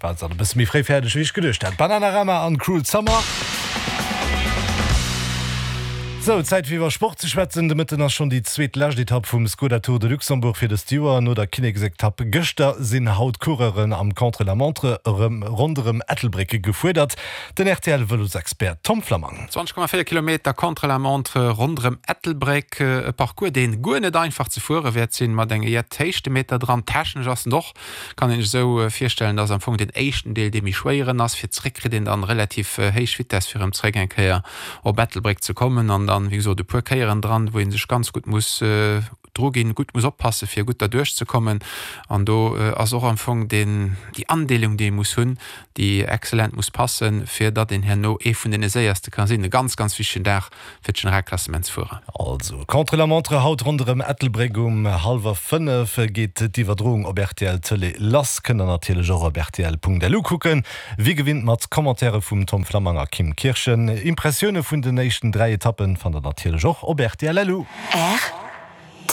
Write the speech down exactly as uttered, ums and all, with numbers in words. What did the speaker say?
War se e bësse méi fréi fäerdeg wéi ech geduecht hat. Bananarama an Cruel Summer. Sou, Zäit fir iwwer Sport ze schwätzen. De Mëtten ass schonn déi zweet lescht Etapp vum Skoda Tour de Luxembourg fir dëst Joer. No der Kinneksetapp gëschter sinn haut d'Coureuren am Contre-la-montre erëm ronderëm Ettelbréck gefuerdert. Den RTL-Vëlosexpert Tom Flammang. zwanzeg Komma véier Kilometer Contre-la-montre ronderëm Ettelbréck, e Parcours deen guer net einfach ze fuere wäert sinn, mat enge jett Héichtemeter dran. Technesch ass en och, kann een sech esou virstellen, dass am Fong deen éischten Deel dee méi schwéieren ass. Fir zréck kritt een dann relativ héich Vitess fir erëm zréck eng Kéier op Ettelbréck ze kommen an dann wéi gesot e puer Kéieren dran, wou ee sech ganz gutt muss dru ginn, gutt muss oppassen, fir gutt derduerch ze kommen. An do ass och am Fong deen, déi Andeelung, déi ee muss hunn, déi exzellent muss passen, fir datt een herno ee vun deene Séierste ka sinn. E ganz, ganz wichtegen Dag fir d'Generalklassementsfuerer. Also, Contre-la-montre haut ronderëm Ettelbréck um hallwer fënnef geet d'Iwwerdroung op rtl Tëlee lass. Kënnt der natierlech och op rtl.lu kucken. Wéi gewinnt mat Commentaire vum Tom Flammang a Kim Kirchen. Impressioune vun den éischten dräi Etappen fannt der natierlech och op rtl.lu. R.